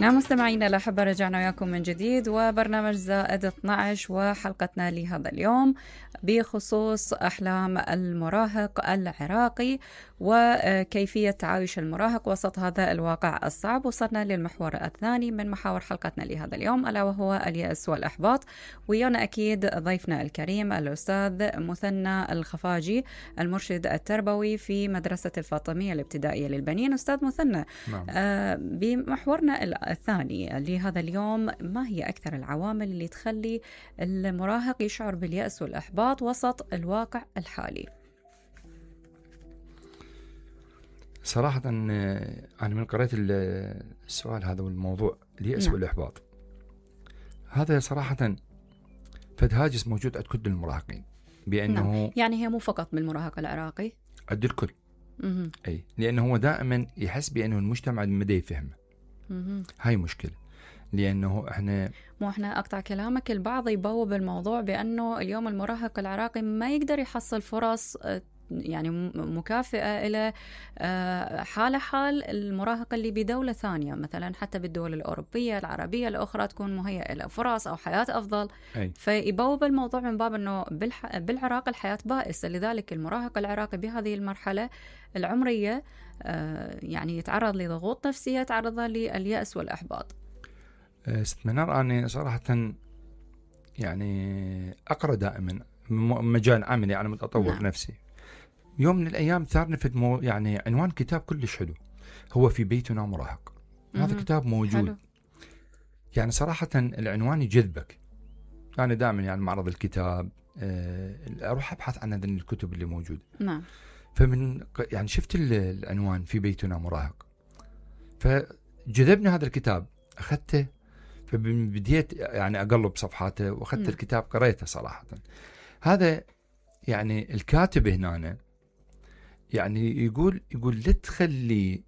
نعم مستمعينا الأحبة، رجعنا وياكم من جديد وبرنامج زائد 12 وحلقتنا لهذا اليوم بخصوص أحلام المراهق العراقي وكيفية تعايش المراهق وسط هذا الواقع الصعب. وصلنا للمحور الثاني من محاور حلقتنا لهذا اليوم ألا وهو اليأس والإحباط. ويانا أكيد ضيفنا الكريم الأستاذ مثنى الخفاجي المرشد التربوي في مدرسة الفاطمية الابتدائية للبنين. أستاذ مثنى، بمحورنا الثاني لهذا اليوم، ما هي أكثر العوامل اللي تخلي المراهق يشعر باليأس والإحباط وسط الواقع الحالي؟ صراحة أنا من قرأت السؤال هذا والموضوع اليأس والإحباط، هذا صراحة فد هاجس موجود عند كل المراهقين بأنه يعني هي مو فقط بالمراهق العراقي، عند الكل. أي، لأنه هو دائما يحس بأنه المجتمع ما يفهمه. هاي مشكلة، لأنه إحنا أقطع كلامك، البعض يبوب الموضوع بأنه اليوم المراهق العراقي ما يقدر يحصل فرص يعني مكافئة إلى حال المراهق اللي بدولة ثانية، مثلا حتى بالدول الأوروبية العربية الأخرى تكون مهيئة له فرص أو حياة أفضل. فيبوب الموضوع من باب أنه بالعراق الحياة بائسة، لذلك المراهق العراقي بهذه المرحلة العمرية يعني يتعرض لضغوط نفسية، يتعرض لليأس والإحباط. ست منار، أنا صراحة يعني أقرأ دائما مجال عملي، أنا متطور نفسي. يوم من الأيام ثارني في يعني عنوان كتاب كلش حلو، هو في بيتنا مراهق. هذا كتاب موجود حلو. يعني صراحة العنوان يجذبك. أنا دائما يعني معرض الكتاب أروح أبحث عن هذه الكتب اللي موجودة. نعم. فمن يعني شفت العنوان في بيتنا مراهق، فجذبني هذا الكتاب، أخذته، فبديت يعني أقلب صفحاته وأخذت الكتاب قريته. صراحة هذا يعني الكاتب هنا يعني يقول لا تخلي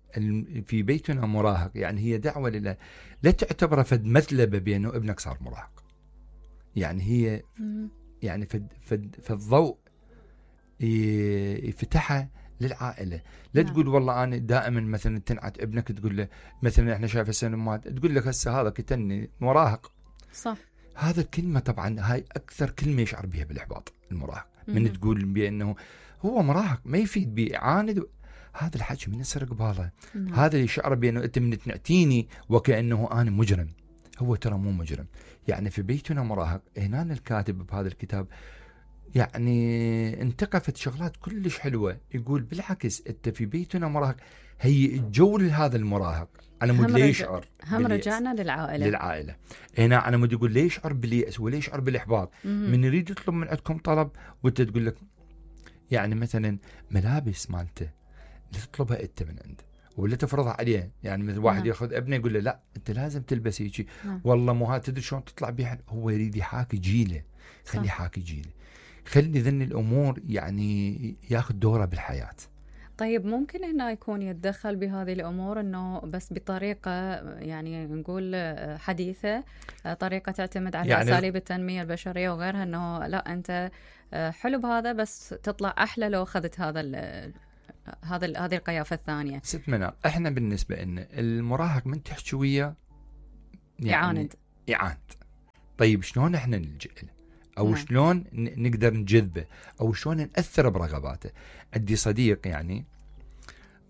في بيتنا مراهق، يعني هي دعوة لا تعتبره فد مثلبة بأنه ابنك صار مراهق. يعني هي يعني فالضوء يفتحها للعائلة. لا تقول والله أنا دائما مثلا تنعت ابنك، تقول له مثلا إحنا شايف السينمات، تقول لك هسه هذا كتني مراهق. صح. هذا الكلمة طبعا هاي أكثر كلمة يشعر بها بالإحباط المراهق. من تقول بأنه هو مراهق ما يفيد بيعاند، هذا الحكي من يسرق باله. هذا اللي يشعر بأنه أنت من تنعتيني وكأنه أنا مجرم. هو ترى مو مجرم. يعني في بيتنا مراهق هنا الكاتب بهذا الكتاب يعني انتقفت شغلات كلش حلوة. يقول بالعكس أنت في بيتنا مراهق، هي الجو لهذا المراهق. أنا مود ليه يشعر، هم رجعنا للعائلة. هنا أنا مود يقول ليه يشعر باليأس ولا يشعر بالإحباط. من يريد يطلب من عندكم طلب وأنت تقول لك يعني مثلا ملابس مالته لا تطلبها أنت من عنده ولا تفرضها عليه. يعني مثل واحد ياخذ ابنه يقول له لا أنت لازم تلبس هيك، والله مو هذا تدري شلون تطلع بيها. هو يريد يحاكي جيله، خلي يحاكي جيله، خلي ذن الأمور يعني ياخذ دوره بالحياة. طيب ممكن هنا يكون يتدخل بهذه الأمور أنه بس بطريقة يعني نقول حديثة، طريقة تعتمد على يعني أساليب التنمية البشرية وغيرها، أنه لا أنت حلو بهذا بس تطلع أحلى لو أخذت هذه القيافة الثانية. ست منار، إحنا بالنسبة لنا المراهق من تحكي وياه يعني يعاند. طيب شلون إحنا نلجأ له؟ أو شلون نقدر نجذبه، أو شلون نأثر برغباته؟ عندي صديق يعني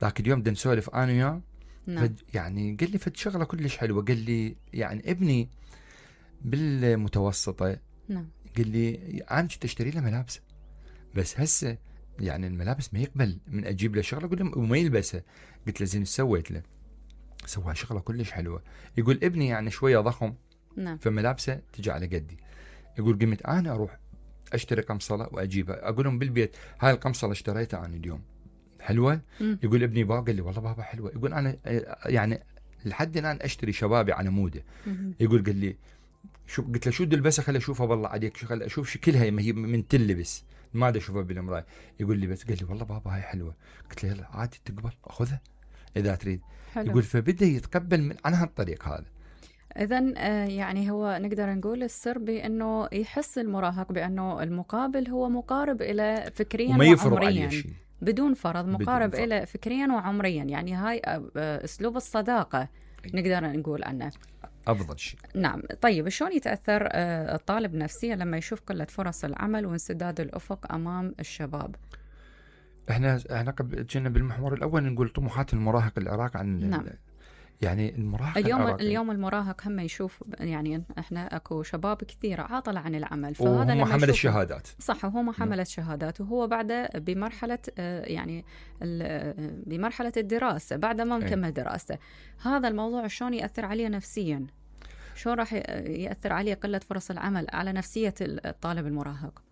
ذاك اليوم بدنا نسولف أنا وياه، يعني قال لي فد شغلة كلش حلوة. قال لي يعني ابني بالمتوسطة، قال لي أنا كنت أشتري له ملابس، بس هسه يعني الملابس ما يقبل من أجيب له شغلة أقول له وما يلبسها. قلت له زين سويت له؟ سوى شغلة كلش حلوة. يقول ابني يعني شوية ضخم، فملابسه تجي على قدي. يقول قمت أنا أروح أشتري قمصلة وأجيبها، أقول لهم بالبيت هاي القمصلة اشتريتها أنا اليوم حلوة. يقول ابني بابا، قال لي والله بابا حلوة. يقول أنا يعني لحد الآن أشتري شبابي على موده. يقول قال لي شو، قلت له شو تلبسها خلي أشوفها بالله عليك، شو خلي أشوف شكلها ما هي من تلبس ما أدري أشوفها بالمراية. يقول لي بس، قال لي والله بابا هاي حلوة. قلت له يلا عادي تقبل أخذها إذا تريد. حلو. يقول فبدأ يتقبل من عن هالطريق هذا. إذن يعني هو نقدر نقول السر بأنه يحس المراهق بأنه المقابل هو مقارب إلى فكريا وعمريا بدون فرض، مقارب إلى فكريا وعمريا. يعني هاي أسلوب الصداقة نقدر نقول عنه افضل شيء. نعم. طيب شلون يتاثر الطالب نفسيا لما يشوف قله فرص العمل وانسداد الافق امام الشباب؟ احنا كنا بالمحور الاول نقول طموحات المراهق العراقي عن نعم. يعني المراهق اليوم المراهق هم يشوف، يعني احنا اكو شباب كثيره عاطله عن العمل، فهذا لما حمل الشهادات. صح، وهو ما حمل الشهادات وهو بعد بمرحله يعني بمرحله الدراسه بعد ما مكمل دراسته. هذا الموضوع شلون ياثر عليه نفسيا؟ شلون راح ياثر عليه قله فرص العمل على نفسيه الطالب المراهق؟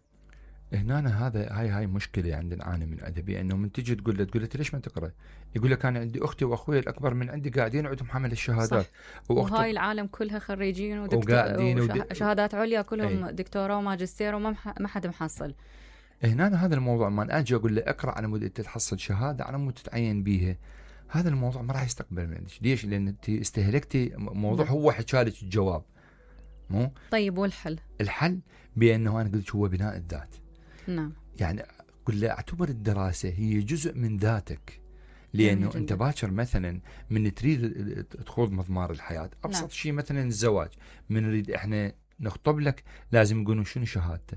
هنا هاي مشكله عندنا نعاني من ادبي، انه من تجي تقول له ليش ما تقرا؟ يقول لك انا عندي اختي واخوي الاكبر من عندي قاعدين عندهم حمل الشهادات. وهاي العالم كلها خريجين وشهادات عليا كلهم دكتوراه وماجستير وما حد محصل. هنا هذا الموضوع ما اجي اقول له اقرا على مود تحصل شهاده على مود تتعين بيها، هذا الموضوع ما راح يستقبل منك. ليش؟ لان انت استهلكتي موضوع. هو حكى لك الجواب مو طيب. والحل؟ الحل بانه انا قلت هو بناء الذات. نعم. يعني قل له اعتبر الدراسة هي جزء من ذاتك، لأنه أنت باكر مثلا من تريد تخوض مضمار الحياة أبسط نعم. شيء مثلا الزواج، من نريد إحنا نخطب لك لازم يقولون شنو شهادته.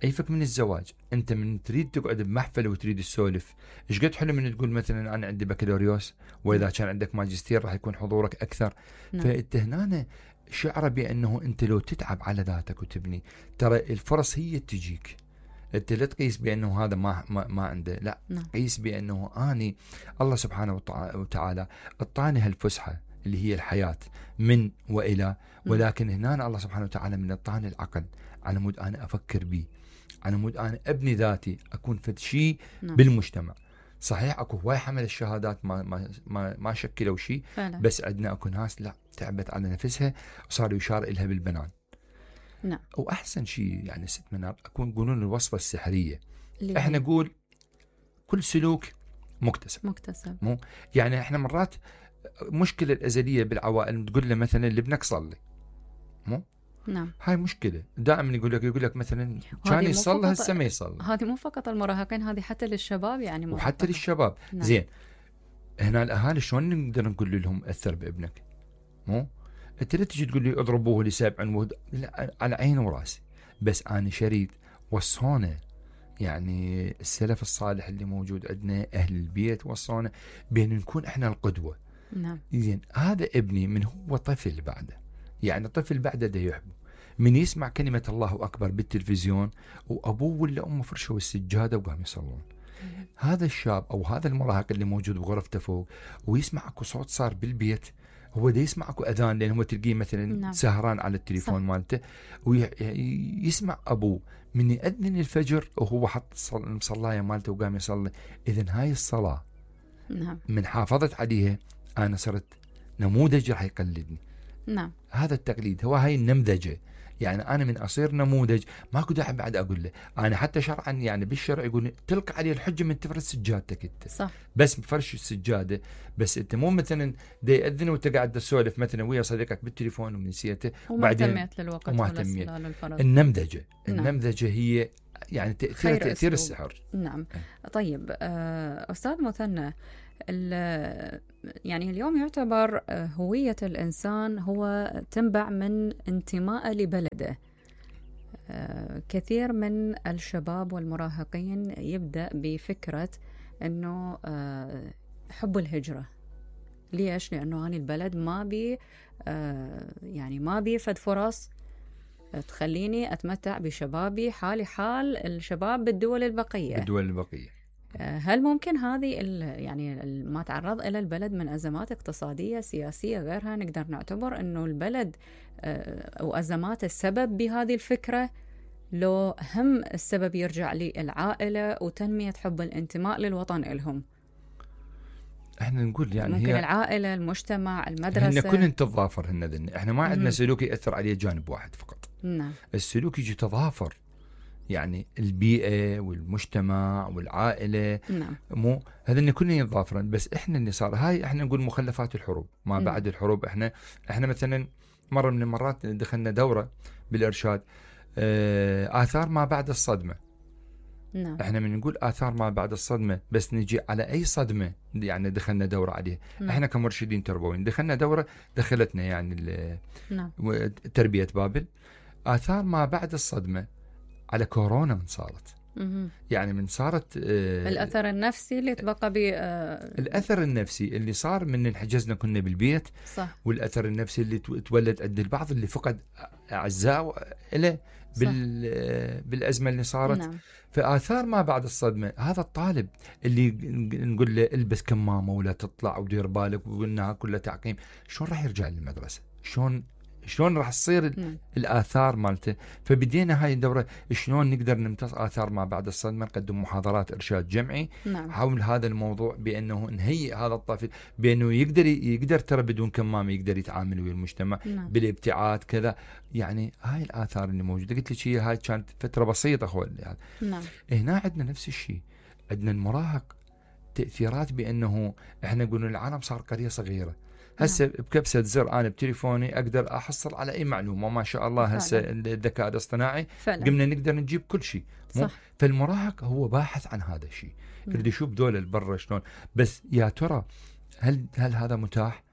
أيفك من الزواج أنت من تريد تقعد بمحفل وتريد تسولف، إيش قد حلو من تقول مثلا أنا عندي بكالوريوس، وإذا كان عندك ماجستير راح يكون حضورك أكثر. نعم. فأنت هنا شعر بأنه أنت لو تتعب على ذاتك وتبني، ترى الفرص هي تجيك. انت لا تقيس بانه هذا ما عنده، لا. قيس بانه اني الله سبحانه وتعالى اعطاني هالفسحه اللي هي الحياه من والى، ولكن هنا الله سبحانه وتعالى من اعطاني العقل على مود انا افكر به، على مود انا ابني ذاتي، اكون فد شيء بالمجتمع. صحيح اكو هواي حمل الشهادات ما شكلوا شيء، بس عندنا اكو ناس لا تعبت على نفسها وصار يشار إلها بالبنان. نعم. وأحسن شيء يعني ست منار أكون يقولون الوصفة السحرية. إحنا نقول كل سلوك مكتسب. مو يعني إحنا مرات مشكلة الأزلية بالعوائل تقول له مثلا لابنك صلي، مو نعم. هاي مشكلة دائما يقول لك مثلا كان يصلي هسه ما يصلي. هذه مو فقط المراهقين، هذه حتى للشباب يعني وحتى للشباب. نعم. زين هنا الأهالي شلون نقدر نقول لهم أثر بابنك؟ مو انت لا تجي تقول لي اضربوه لسبع لا، على عيني وراسي، بس انا شريد وصونا يعني السلف الصالح اللي موجود عندنا اهل البيت وصونا بين نكون احنا القدوه. نعم. زين هذا ابني من هو طفل بعده، يعني طفل بعده ده يحبه من يسمع كلمه الله اكبر بالتلفزيون وابوه ولا امه فرشوا السجاده وقام يصلون. هذا الشاب او هذا المراهق اللي موجود بغرفته فوق ويسمع اكو صوت صار بالبيت، هو دا يسمع اكو اذان، لان هو تلقيه مثلا نعم. سهران على التليفون مالته، ويسمع ابوه من يأذن الفجر وهو حط المصلايه مالته وقام يصلي. اذا هاي الصلاه نعم. من حافظت عليها انا صرت نموذج راح يقلدني. نعم. هذا التقليد هو هاي النمذجه، يعني انا من اصير نموذج ماكو داعي بعد اقول له. انا حتى شرعا يعني بالشرع يقول تلقى عليه الحجه من تفرش سجادتك انت. صح. بس بفرش السجاده، بس انت مو مثلا دا ياذن وانت قاعد تسولف مثلا ويا صديقك بالتليفون ونسيته وبعدين تميت للوقت وما تميت. النمذجه النمذجه هي يعني تاثير السحر. نعم. طيب استاذ مثنى، يعني اليوم يعتبر هوية الإنسان هو تنبع من انتماء لبلده. كثير من الشباب والمراهقين يبدأ بفكرة أنه حب الهجرة. ليش؟ لأنه أنا البلد ما بي يعني ما بي فد فرص تخليني أتمتع بشبابي حالي حال الشباب بالدول البقية. هل ممكن هذه يعني ما تعرض إلى البلد من أزمات اقتصادية سياسية غيرها نقدر نعتبر أنه البلد وأزمات السبب بهذه الفكرة، لو هم السبب يرجع للعائلة وتنمية حب الانتماء للوطن إلهم؟ احنا نقول يعني ممكن هي العائلة، المجتمع، المدرسة، هن كلن تتضافر. هن احنا ما عندنا سلوك يأثر عليه جانب واحد فقط. نعم. السلوك يجي تضافر، يعني البيئة والمجتمع والعائلة. نعم. مو هذا كلنا يتضافرن، بس احنا اللي صار هاي احنا نقول مخلفات الحروب ما بعد الحروب. احنا مثلا مرة من المرات دخلنا دورة بالإرشاد آثار ما بعد الصدمة. نعم. احنا من نقول آثار ما بعد الصدمة بس نجي على أي صدمة يعني دخلنا دورة عليها. نعم. احنا كمرشدين تربويين دخلنا دورة دخلتنا يعني نعم. تربية بابل. آثار ما بعد الصدمة على كورونا من صارت. يعني من صارت الأثر النفسي اللي تبقى الأثر النفسي اللي صار من انحجزنا كنا بالبيت. صح. والأثر النفسي اللي تولد عند البعض اللي فقد أعزاء له بالأزمة اللي صارت. نعم. فآثار ما بعد الصدمة هذا الطالب اللي نقول له البس كمامة ولا تطلع ودير بالك وقلنا كلها تعقيم، شلون راح يرجع للمدرسة؟ شلون راح تصير الآثار مالته؟ فبدينا هاي الدورة شلون نقدر نمتص آثار ما بعد الصدمة، نقدم محاضرات إرشاد جمعي. نعم. حول هذا الموضوع بأنه نهيئ هذا الطفل بأنه يقدر ترى بدون كمامة يقدر يتعامل ويا المجتمع. نعم. بالابتعاد كذا. يعني هاي الآثار اللي موجودة قلت لك هاي كانت فترة بسيطة يعني. نعم. هنا عندنا نفس الشيء، عندنا المراهق تأثيرات بأنه احنا نقول العالم صار قرية صغيرة. هسه بكبسة زر أنا بتليفوني أقدر أحصل على أي معلومة ما شاء الله. هسه الذكاء الاصطناعي قمنا نقدر نجيب كل شيء. فالمراهق هو باحث عن هذا الشيء، يريد يشوف دول البر شلون. بس يا ترى هل هذا متاح؟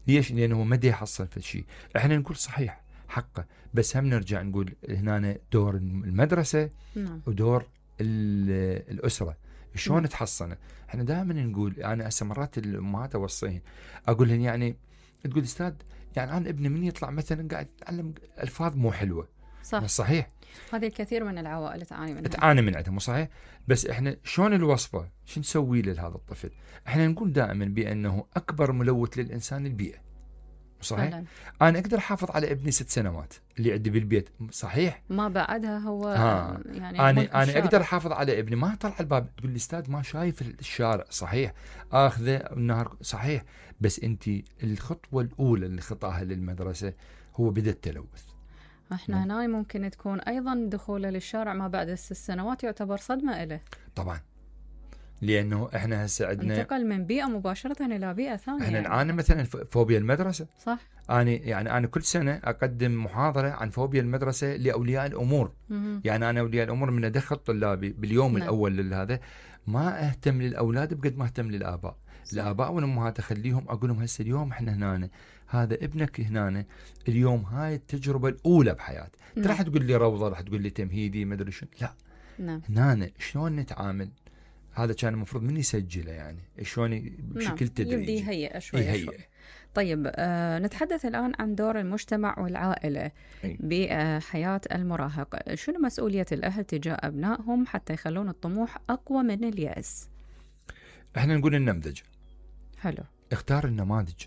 ليش؟ لأنه ما يحصل في الشيء. احنا نقول صحيح حقه، بس هم نرجع نقول هنا دور المدرسة. نعم. ودور الأسرة شلون تحصنه. احنا دائما نقول انا هسه مرات الامهات اوصيهن اقول لهم يعني تقول استاذ يعني انا ابني من يطلع مثلا قاعد يتعلم الفاظ مو حلوه. صح. صحيح. هذه الكثير من العوائل تعاني من عندها. مو صحيح؟ بس احنا شلون الوصفه؟ شو نسوي لهذا الطفل؟ احنا نقول دائما بانه اكبر ملوث للانسان البيئه. صحيح. فعلا. انا اقدر احافظ على ابني 6 سنوات اللي عندي بالبيت. صحيح. ما بعدها هو يعني انا اقدر احافظ على ابني ما طلع الباب تقول لي استاذ ما شايف الشارع. صحيح. اخذه النهار. صحيح. بس انت الخطوه الاولى اللي خطاها للمدرسه هو بدا التلوث. احنا هنا ممكن تكون ايضا دخوله للشارع ما بعد 6 سنوات يعتبر صدمه له. طبعا. لأنه إحنا هسه عندنا انتقل من بيئة مباشرة إلى بيئة ثانية. إحنا نعاني مثلا فوبيا المدرسة. صح. أنا كل سنة أقدم محاضرة عن فوبيا المدرسة لأولياء الأمور. يعني أنا أولياء الأمور من أدخل طلابي باليوم الأول لهذا ما أهتم للأولاد بقد ما أهتم للآباء. الآباء والأمهات أخليهم أقول لهم هسه اليوم إحنا هنا هذا ابنك هنا اليوم هاي التجربة الأولى بحياته. راح تقول لي روضة راح تقول لي تمهيدي ما أدري شنو. لا. هنا شلون نتعامل. هذا كان المفروض من يسجله يعني شلون بشكل تدريجي يبدي يهيئ شوي. طيب نتحدث الآن عن دور المجتمع والعائلة بحياة المراهق. شنو مسؤولية الأهل تجاه أبنائهم حتى يخلون الطموح أقوى من اليأس؟ احنا نقول النمذج. حلو. اختار النماذج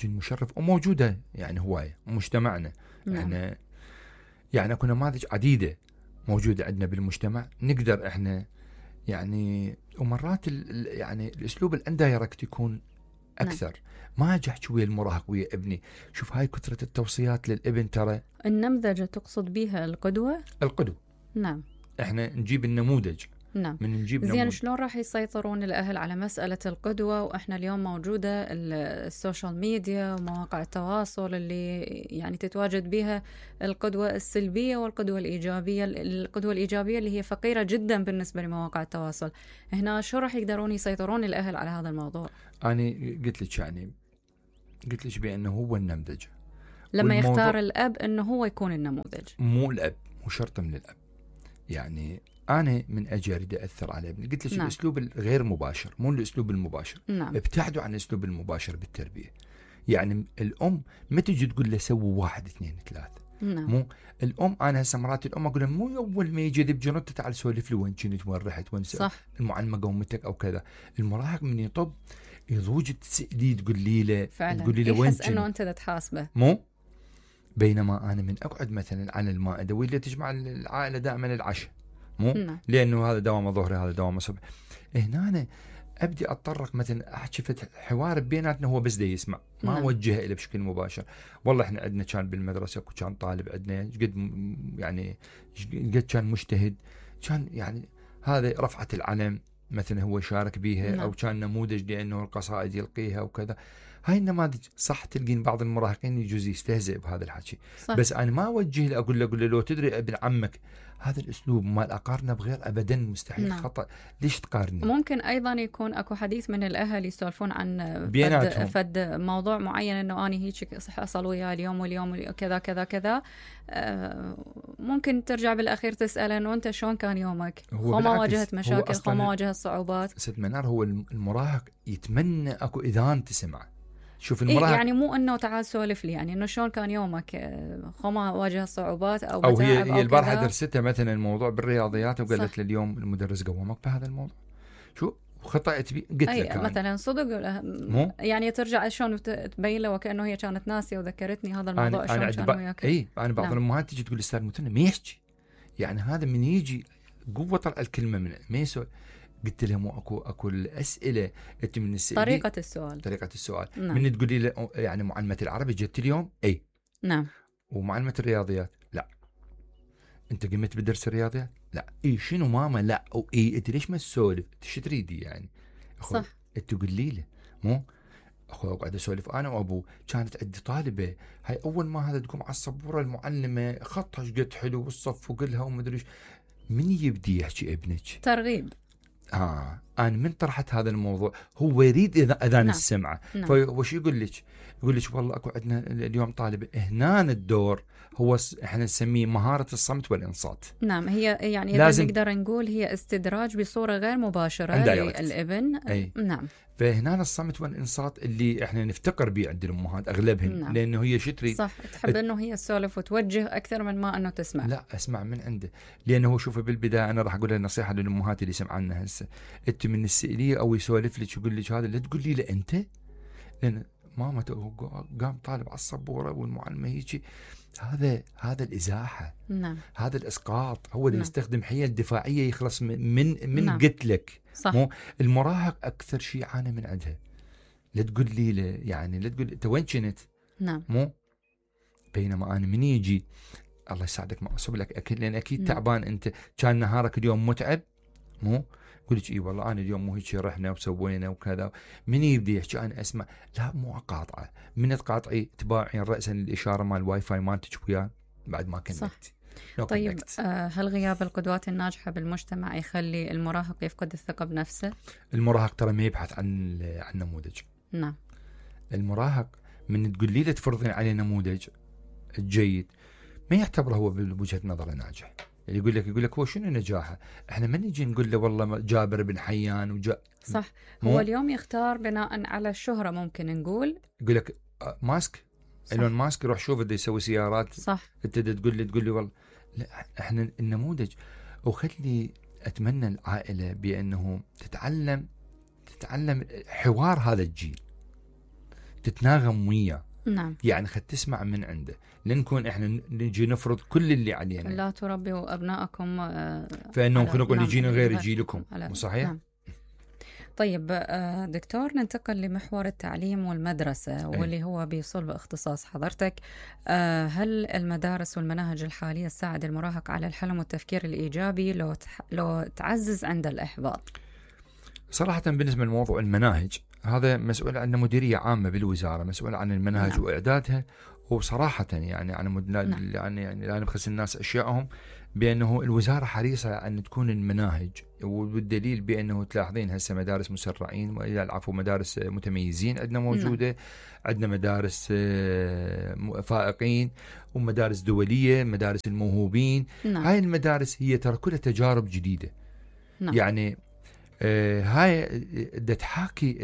المشرف وموجودة يعني هواية مجتمعنا. احنا يعني اكو نماذج عديدة موجودة عندنا بالمجتمع نقدر احنا يعني ومرات يعني الاسلوب الاندايركت يكون اكثر. ما اجي احكي ويا المراهق ويا ابني شوف هاي كثرة التوصيات للابن. ترى النمذجة تقصد بها القدوة. نعم. احنا نجيب النموذج. نعم. زين شلون راح يسيطرون الأهل على مسألة القدوة وإحنا اليوم موجودة السوشيال ميديا ومواقع التواصل اللي يعني تتواجد بها القدوة السلبية والقدوة الإيجابية. القدوة الإيجابية اللي هي فقيرة جدا بالنسبة لمواقع التواصل. هنا شو راح يقدرون يسيطرون الأهل على هذا الموضوع؟ أنا قلت لك بأنه هو النمذج. لما يختار الأب أنه هو يكون النموذج. مو الأب مو شرط من الأب. يعني أنا من أجي أريد أثر على ابني قلت لك الأسلوب الغير مباشر مو الأسلوب المباشر. ابتعدوا عن الأسلوب المباشر بالتربية. يعني الأم ما تجي تقول له سوي 1 2 3. مو الأم. أنا هسه مرات الأم أقول مو أول ما يجي ذب جنطة تعال سولف لي وين كنت وين رحت وين المعلمة قومتك أو كذا. المراهق من يطب يضوج تسألي تقولي له وين يحس أنه أنت تحاسبه. مو بينما أنا من أقعد مثلا على المائدة واللي تجمع العائلة دائما العشاء. مو لأنه هذا دوام ظهري هذا دوام صبح. هنا أنا أبدي أتطرق مثلا أحكي حوار بيناتنا هو بس دي يسمع ما أوجهه إلى بشكل مباشر. والله إحنا عندنا كان بالمدرسة وكان طالب عندنا قد كان مجتهد كان يعني هذا رفعت العلم مثلا هو شارك بيها. أو كان نموذج لأنه القصائد يلقيها وكذا. هاي النماذج صح تلقين بعض المراهقين يجوز يستهزئ بهذا الحكي، صح. بس انا ما اوجه له اقول له لو تدري ابن عمك هذا الاسلوب مال اقارنه بغير ابدا مستحيل. نعم. خطا. ليش تقارني؟ ممكن ايضا يكون اكو حديث من الاهل يسولفون عن بيناتهم. فد موضوع معين، انه اني هيك حصل وياي اليوم كذا كذا كذا. ممكن ترجع بالاخير تساله انه انت شلون كان يومك؟ خو ما واجهت مشاكل؟ خو ما واجهت صعوبات؟ ست منار هو المراهق يتمنى اكو اذان تسمع. شوف المراهق يعني مو انه تعال سولف لي، يعني انه شلون كان يومك؟ خو ما واجه صعوبات او هي البارحه درستها مثلا الموضوع بالرياضيات وقالت لي اليوم المدرس قومك بهذا الموضوع. شو خطأت بي؟ قلت لك مثلا صدق مو يعني ترجع شلون تبين له وكانه هي كانت ناسيه وذكرتني هذا الموضوع شلون كان وياك. انا بعض الامهات تجي تقول استاذ متنا ما يحكي، يعني هذا من يجي قوه طلع الكلمه من ما يسوي. قلت لها مو اكو الاسئله انت من طريقه السؤال. نعم. من تقولي له يعني معلمه العربي جت اليوم اي نعم، ومعلمه الرياضيات لا، انت قمت بدرس الرياضيات لا، اي شنو ماما لا، او اي انت ليش ما تسولف؟ ايش تريدي يعني؟ صح. انت تقولي له مو اخوي اقعد اسولف انا وابوه. كانت عندي طالبه هاي اول ما هذا تقوم على السبوره المعلمه خطها ايش قد حلو والصف وقلها ومدري ايش. من يبدي يحكي ابنك؟ ترغيب. انا من طرحت هذا الموضوع هو يريد اذان نعم. السمعه. نعم. فوش يقول لك؟ يقول لك والله اكو عندنا اليوم طالبه هنا الدور هو احنا نسميه مهاره الصمت والانصات. نعم، هي يعني اذا نقدر نقول هي استدراج بصوره غير مباشره للابن. نعم. فهنا الصمت والانصات اللي احنا نفتقر به عند الامهات اغلبهم. نعم. لانه هي شو تريد؟ صح، تحب انه هي تسولف وتوجه اكثر من ما انه تسمع. لا اسمع من عنده. لانه شوف بالبدايه انا راح اقول نصيحه للامهات اللي سمعنا هسه، انت من السئليه او يسولف لك يقول لك هذا لا تقولي له انت، لان ماما قام طالب على السبوره والمعلمه هيك. هذا الازاحه. نعم. هذا الاسقاط. هو اللي يستخدم حيل دفاعيه يخلص من نعم. قلت لك. صح. مو المراهق اكثر شيء عانى من عندها. لا تقول لي يعني لا تقول انت وين كنت؟ نعم. مو بينما انا من يجي الله يساعدك ما اصب لك اكل لان اكيد تعبان انت، كان نهارك اليوم متعب. مو يقول لك اي والله انا اليوم مو هيك رحنا وسوينا وكذا. من يبدي يحكي انا اسمع، لا مو اقاطعه. من تقاطعي تباعين راسا الاشاره مال الواي فاي مالتك وياه بعد ما كنكتي. طيب هل غياب القدوات الناجحه بالمجتمع يخلي المراهق يفقد الثقه بنفسه؟ المراهق ترى ما يبحث عن نموذج. نعم. المراهق من تقول لي تفرضين عليه نموذج جيد ما يعتبره هو بوجهه نظره ناجح. اللي يقول لك هو شنو نجاحه؟ احنا ما نجي نقول له والله جابر بن حيان صح. هو اليوم يختار بناء على الشهره. ممكن نقول يقول لك ماسك ايلون ماسك يروح شوف بده يسوي سيارات. صح. انت تقول لي والله لا، احنا النموذج. وخلي اتمنى العائله بانه تتعلم حوار هذا الجيل، تتناغم وياه. نعم. يعني خد تسمع من عنده، لنكون احنا نجي نفرض كل اللي علينا. لا تربوا ابنائكم فانهم خلقوا يجينا غير جيلكم. مو صحيح؟ نعم. طيب دكتور، ننتقل لمحور التعليم والمدرسة واللي هو بصلب اختصاص حضرتك. هل المدارس والمناهج الحالية تساعد المراهق على الحلم والتفكير الإيجابي لو تعزز عند الإحباط؟ صراحة بالنسبة لموضوع المناهج هذا مسؤول عن مديرية عامة بالوزارة، مسؤول عن المناهج. نعم. وإعدادها. وصراحة يعني يعني لا نبخس الناس أشيائهم بأنه الوزارة حريصة أن تكون المناهج، والدليل بأنه تلاحظين هسه مدارس مسرعين والعفو مدارس متميزين عندنا موجودة. نعم. عندنا مدارس فائقين ومدارس دولية، مدارس الموهوبين. نعم. هاي المدارس هي ترى كلها تجارب جديدة. نعم. يعني هاي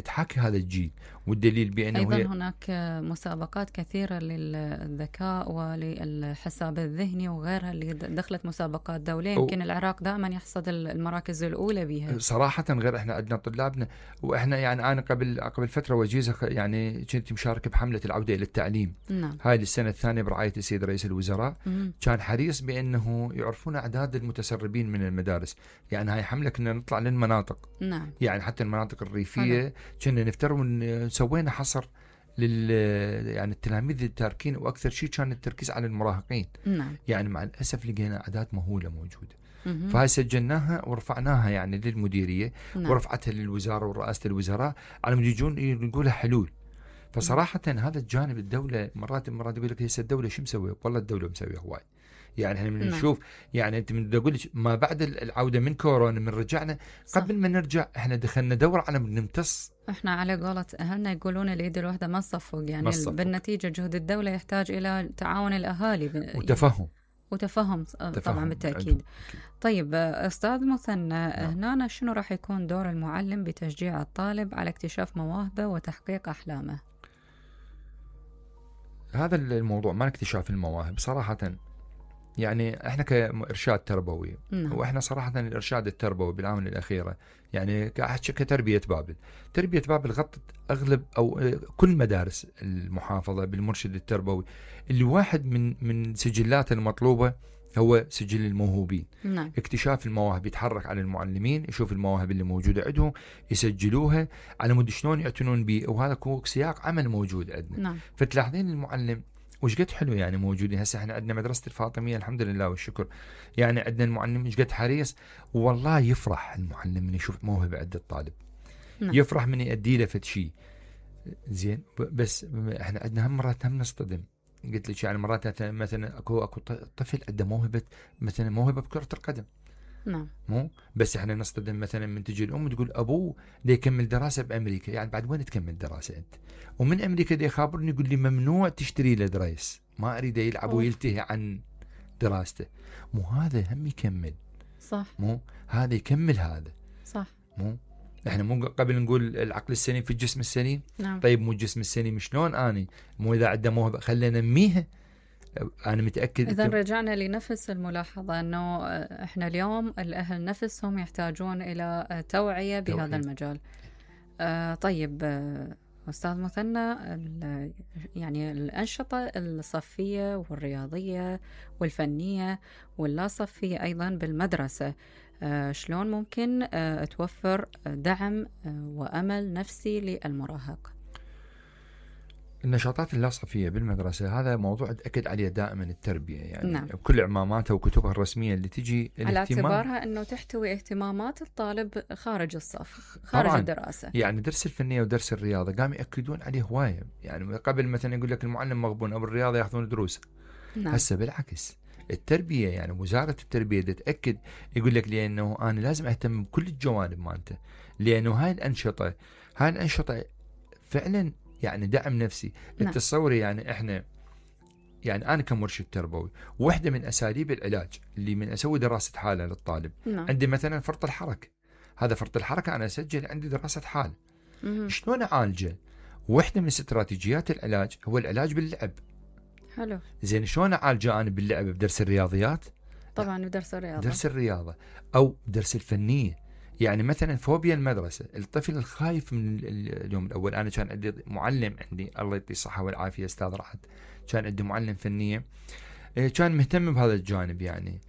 تحاكي هذا الجيل، والدليل بأنه أيضا هناك مسابقات كثيرة للذكاء وللحساب الذهني وغيرها اللي دخلت مسابقات دولية. يمكن العراق دائما يحصد المراكز الأولى بها صراحة. غير احنا عندنا طلابنا، واحنا يعني أنا قبل فترة وجيزة يعني كنت مشارك بحملة العودة إلى التعليم. نعم. هاي السنة الثانية برعاية السيد رئيس الوزراء. كان حريص بأنه يعرفون أعداد المتسربين من المدارس. يعني هاي حملة كنا نطلع للمناطق. نعم. يعني حتى المناطق الريفية كنا نفترض سوينا حصر يعني التلاميذ التاركين، واكثر شيء كان التركيز على المراهقين. نعم. يعني مع الاسف لقينا اعداد مهوله موجوده. فهاي سجلناها ورفعناها يعني للمديريه. نعم. ورفعتها للوزاره ورئاسه الوزراء على مود يجون يقولها حلول. فصراحة هذا الجانب الدولة مرات يقول لك هسه الدولة شو مسوية؟ والله الدولة مسوية هواي. يعني احنا من نشوف يعني انت من اقول لك ما بعد العودة من كورونا من رجعنا قبل ما نرجع احنا دخلنا دورة على نمتص. احنا على قولة اهلنا يقولون اليد الواحدة ما تصفق، يعني بالنتيجة جهد الدولة يحتاج الى تعاون الاهالي وتفهم طبعا بالتأكيد. طيب أستاذ مثنى، هنا شنو راح يكون دور المعلم بتشجيع الطالب على اكتشاف مواهبه وتحقيق أحلامه؟ هذا الموضوع ما اكتشاف المواهب صراحة، يعني احنا كإرشاد تربوي واحنا صراحة الإرشاد التربوي بالآونة الأخيرة يعني كتربية بابل، تربية بابل غطت أغلب أو كل مدارس المحافظة بالمرشد التربوي، اللي واحد من سجلات المطلوبة هو سجل الموهوبين. اكتشاف المواهب، يتحرك على المعلمين يشوف المواهب اللي موجودة عندهم يسجلوها على مود شلون يعتنون به، وهذا سياق عمل موجود عندنا. فتلاحظين المعلم وش قد حلو يعني موجودين. هسه احنا عندنا مدرسة الفاطمية الحمد لله والشكر، يعني عندنا المعلم وش قد حريص، والله يفرح المعلم من يشوف موهبة عند الطالب. يفرح من يؤدي له فد شيء زين. بس احنا عندنا مرات هم نصطدم، قلت لك يعني مرات مثلا اكو طفل عنده موهبة، مثلا موهبة بكرة القدم. مو بس احنا نصطدم مثلا من تجي الام تقول ابوه دا يكمل دراسه بامريكا، يعني بعد وين تكمل دراسه انت؟ ومن امريكا دا يخابرني يقول لي ممنوع تشتري له دريس، ما اريد يلعب ويلتهي عن دراسته. مو هذا هم يكمل، صح؟ مو هذا يكمل هذا، صح؟ مو احنا مو قبل نقول العقل السليم في الجسم السليم؟ طيب مو الجسم السليم شلون اني مو اذا عنده موهبه خلينا ننميها. أنا متأكد. إذا رجعنا لنفس الملاحظة أنه إحنا اليوم الأهل نفسهم يحتاجون إلى توعية بهذا المجال. طيب أستاذ مثنى، يعني الأنشطة الصفية والرياضية والفنية واللا صفية أيضا بالمدرسة شلون ممكن توفر دعم وأمل نفسي للمراهق؟ النشاطات اللاصفية بالمدرسة هذا موضوع تأكد عليه دائما التربية، يعني بكل إعماماتها وكتبها الرسمية اللي تجي على اعتبارها أنه تحتوي اهتمامات الطالب خارج الصف خارج طبعاً الدراسة. يعني درس الفنية ودرس الرياضة قام يأكدون عليه هواية، يعني قبل مثلا يقول لك المعلم مغبون أو الرياضة يأخذون دروس. هسه بالعكس التربية، يعني وزارة التربية تتأكد يقول لك لأنه أنا لازم أهتم بكل الجوانب مالته، لأنه هاي الأنشطة فعلا يعني دعم نفسي. التصوري يعني احنا يعني انا كمرشد تربوي واحده من اساليب العلاج اللي من اسوي دراسه حاله للطالب عندي مثلا فرط الحركه. هذا فرط الحركه انا اسجل عندي دراسه حال شلون اعالجه. واحده من استراتيجيات العلاج هو العلاج باللعب. حلو. زين شلون اعالجه انا باللعب؟ بدرس الرياضيات طبعا، بدرس الرياضه، درس الرياضه او درس الفنيه. يعني مثلا فوبيا المدرسة، الطفل الخايف من اليوم الأول. أنا كان عندي معلم، عندي الله يعطيه الصحة والعافية أستاذ رعد، كان عندي معلم فنية كان مهتم بهذا الجانب. يعني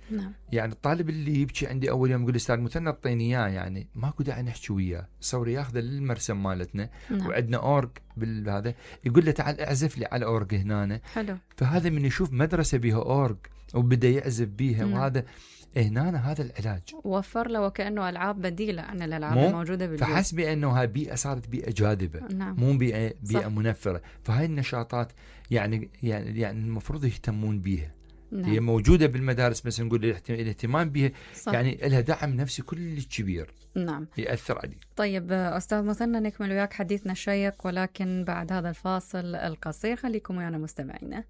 يعني الطالب اللي يبكي عندي أول يوم يقول أستاذ مثنى اعطيني إياه، يعني ماكو داعي نحكي وياه، صوري ياخذه للمرسم مالتنا وعندنا أورج بالهذا، يقول له تعال اعزف لي على أورج هنا. حلو. فهذا من يشوف مدرسة بها أورج وبدأ يعزف بيها وهذا هنا هذا العلاج وفر له وكأنه ألعاب بديلة عن الألعاب الموجودة بالبيت. فحس بأنه هاي بيئة صارت بيئة جاذبة. مو بيئة منفرة. فهاي النشاطات يعني المفروض يهتمون بيها. هي موجودة بالمدارس بس نقول الاهتمام بها يعني لها دعم نفسي كل كبير يأثر عليه. طيب أستاذ مثنى، نكمل وياك حديثنا الشيق ولكن بعد هذا الفاصل القصير. خليكم ويانا مستمعينا.